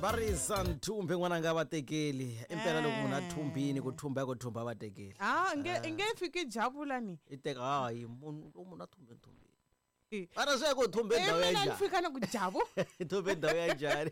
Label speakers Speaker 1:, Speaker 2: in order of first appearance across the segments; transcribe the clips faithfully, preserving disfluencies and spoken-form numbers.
Speaker 1: Barisa nthumbe n'wananga va tekeli impela loko munhu a thumbini ku thumba ku thumba va tekeli
Speaker 2: ah nge nge fiki javula ni
Speaker 1: i teka hayi munhu lo munhu a thumbe nthumbe ara swi ya ku thumbe ndhawu ya
Speaker 2: mina ni
Speaker 1: njhani
Speaker 2: fika na ku javu
Speaker 1: thumbe ndhawu ya njhani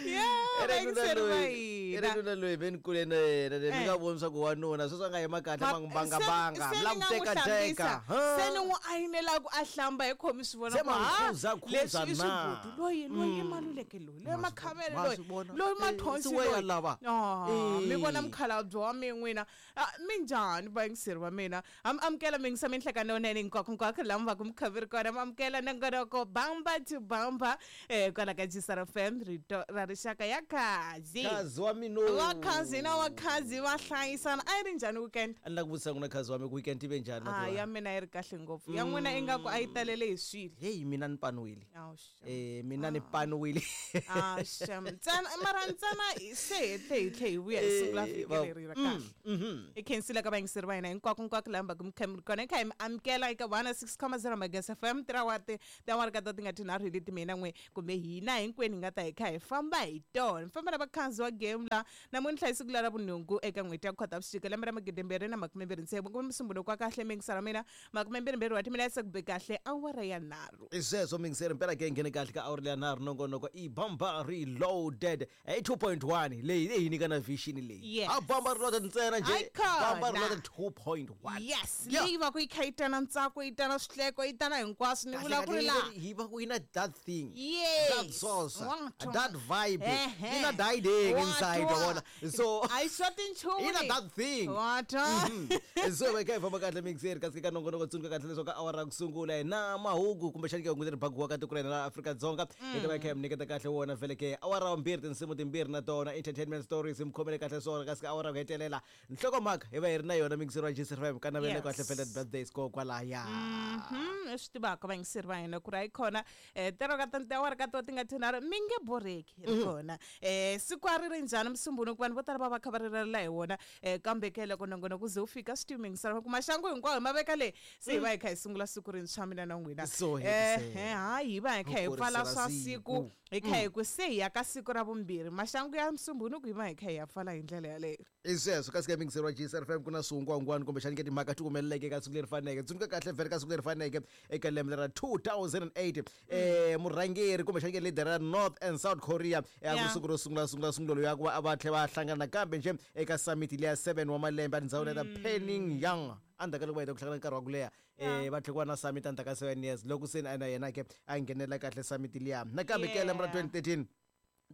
Speaker 2: yeah
Speaker 1: Ere loyi ere nuna loyi ve ni kule na yena ni nga voni swa ku wanuna sweswi a nga yima kahle ma n'wi bangabanga mi la ku teka teka
Speaker 2: se ni n'wi ayinela ku a hlamba hi khomi swi vona
Speaker 1: Se ma n'wi khuza khuza
Speaker 2: leswi i
Speaker 1: na.
Speaker 2: swibuti loyi loyi i maluleke loyi loyi makhamele
Speaker 1: ma
Speaker 2: loyi
Speaker 1: swi vona.
Speaker 2: loyi
Speaker 1: Eh,
Speaker 2: mathonsi
Speaker 1: se weya
Speaker 2: loyi
Speaker 1: lava.
Speaker 2: Ah,
Speaker 1: Eh.
Speaker 2: mi vona mukhalabye wa mi n'wina Ah, minjhani vayingiseri va mina am amukela mi yingisa minhlekano lowunene hinkwako hinkwako laha mi va ku mi kha mi ri kona mi amukela nongonoko bamba to bamba um kwala ka G S R F M rito ra rixaka ya khazi
Speaker 1: Khazi wa mina
Speaker 2: vakhazi na vakhazi va hlayisana a yi ri njhani weekend
Speaker 1: a ni la ku vutisa n'wina khazi wa mi ku weekend yi ve njhani
Speaker 2: a
Speaker 1: Matiwa?
Speaker 2: ya mina yi ri kahle ngopfu ya n'wina ingaku a yi talele hi swilo
Speaker 1: heyi mina ni paniwile
Speaker 2: Awu, shem.
Speaker 1: eh mina ni paniwile
Speaker 2: Ah, shem. Ntsena mara ntsena se hi tlhe hi tlhe hi vuya hi siku ra vhiki
Speaker 1: va-
Speaker 2: leri ra kahle
Speaker 1: mhm
Speaker 2: hi khensile ka vayingiseri va hina hinkwako hinkwako laha mi va ku mi kha mi ri kona hi kha hi mi amukela eka one six comma zero Magezi F M tirawa ti tiawara ka ta ti nga tinharhu hi leti mina n'we kumbe hina hinkwenu hi nga ta hi kha hi famba hi tona mi famba na vakhanzi wa game la namuntlha hi siku la ra vunhungu eka n'hweti ya Khotavuxika lembe ra magidi mbirhi na makume mbirhi ntsevu kumbe musumbunuko wa kahle mingisara mina makume mbirhi mbirhi wa timinetse ku be kahle awara ya nharhu
Speaker 1: i sweswo mingiseri mpela ke nghene kahle ka awuri leya nharhu nongonoko i bamba reloaded i two point one leyi leyi nyika na vision leyi
Speaker 2: Yes.
Speaker 1: a bamba reloaded ntsena nje
Speaker 2: Hayi khona.
Speaker 1: Bamba reloaded two point one.
Speaker 2: Yes.
Speaker 1: Yeah.
Speaker 2: Leyi va ku yi kha yi tana ntsako yi tana swihleko yi tana hinkwaswo ni vula ku ri laha
Speaker 1: hi va ku yi na that thing,
Speaker 2: Yes.
Speaker 1: that sauce,
Speaker 2: Wa twa.
Speaker 1: that vibe
Speaker 2: Ehe.
Speaker 1: yi na diding
Speaker 2: Wa
Speaker 1: inside
Speaker 2: twa.
Speaker 1: wa vona so
Speaker 2: a yi xoti nchumu
Speaker 1: yi na
Speaker 2: leyi.
Speaker 1: that thing.
Speaker 2: Wa twa.
Speaker 1: Mhm. so va kha hi famba kahle mixeri kasi ka nongonoko tsundzuka kahle leswaku ka awara ya ku sungula hi na mahungu kumbexani ke hungu leri bagiwaka tiko ra hina ra Afrika-Dzonga hi ta va hi kha hi mi nyiketa kahle wona vhele ke awara ya vumbirhi tinsimu timbirhi na tona entertainment stories mi khomele kahle swona kasi ka awara ya ku hetelela nhlokomhaka hi va hi ri na yona mixeri wa G S F M ka navele
Speaker 2: Yes.
Speaker 1: kahle vhele birthdays ko kwalaya.
Speaker 2: Mhm, i swi tivaka vayingiseri va hina ku ri hayi khona um tero ka tiawara ka to ti nga tinharhu mi nge borheki ri kona um siku a ri ri njhani musumbunuku vanhu vo tala va va kha va rirela hi wona um kambe ke loko nongonoko ze wu fika swi timingisela ku maxangu hinkwawo hi ma veka le se hi va hi kha hi sungula siku rintshwa mina na n'wina.
Speaker 1: So
Speaker 2: Eh,
Speaker 1: hetisela.
Speaker 2: eh, hayi hi va hi kha hi
Speaker 1: Ku
Speaker 2: pfala
Speaker 1: kurisela
Speaker 2: swa
Speaker 1: siku.
Speaker 2: siku hi kha hi ku se hi ya ka siku ra vumbirhi maxangu ya musumbunuku hi va hi kha hi ya pfala hi ndlela yaleyo.
Speaker 1: I sweswo kasi ka mingiseri wa G S R F M ku na swihungwahungwani kumbexani ke timhaka ti humeleleke ka siku leri faneke tsundzuka kahle vhele ka siku leri faneke eka lembe ra two thousand and eight eh murhangeri kumbexani ke leader ra North and South Korea eh, a ku
Speaker 2: Yeah.
Speaker 1: siku ro sungula sungula sungulo ya ku va va tlhe va hlangana nakambe nje eka summit leya seven wa malembe etindhawini ta Pyongyang endzhaku ka loko va heta ku hlangana nkarhi wa ku leha um va tlhe ku va na summit endzhaku ka seven years loko se na yena ke a nghenela kahle summit liya nakambe ke lembe ra
Speaker 2: Yeah.
Speaker 1: twenty thirteen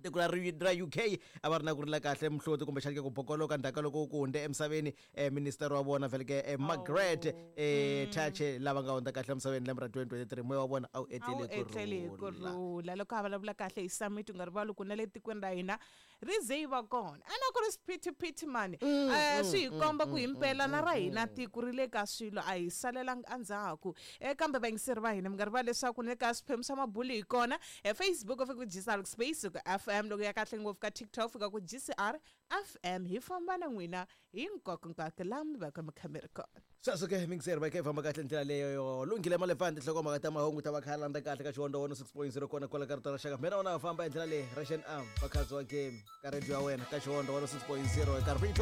Speaker 1: tiko ra ri- ra U K a va ri na ku rila kahle muhloti kumbexani ke ku bokoloka ndzhaku ka loko ku hundze emisaveni um minister wa vona vhele ke eh, Margaret um Thatcher lava nga hundza kahle emisaveni lembe ra twenty twenty-three moya wa vona a wu
Speaker 2: a wu
Speaker 1: etlele ku
Speaker 2: etlele hi ku
Speaker 1: rhula.
Speaker 2: rhula loko a vulavula kahle hi summit u nga rivali ku na le tikweni ra hina ri ze yi va kona a na ku ri swiphitiphiti mani um swi hi komba ku himpela na ra hina tiko ri le ka swilo a hi salelangi endzhaku um kambe vayingiseri va hina mi nga rivali leswaku ni le ka swiphemu swa mabulu hi kona um Facebook u fika ku G S R space ku F M loko ya kahle ngopfu ka TikTok fika ku G C R F M hi famba na n'wina hinkwako laha mi va ka mi kha mi ri kona.
Speaker 1: Sweswo ke mingiseri va kha hi famba kahle ndlela leyo yo lunghile malefani tinhlokomhaka ta mahungu ta va kha landza kahle ka Xivondza one six point zero kona kwala ka rito ra xaka mina wona va famba hi ndlela leyi Russian arm vakhazi wa game ka radio ya wena ka Xivondza one six point zero eka rito.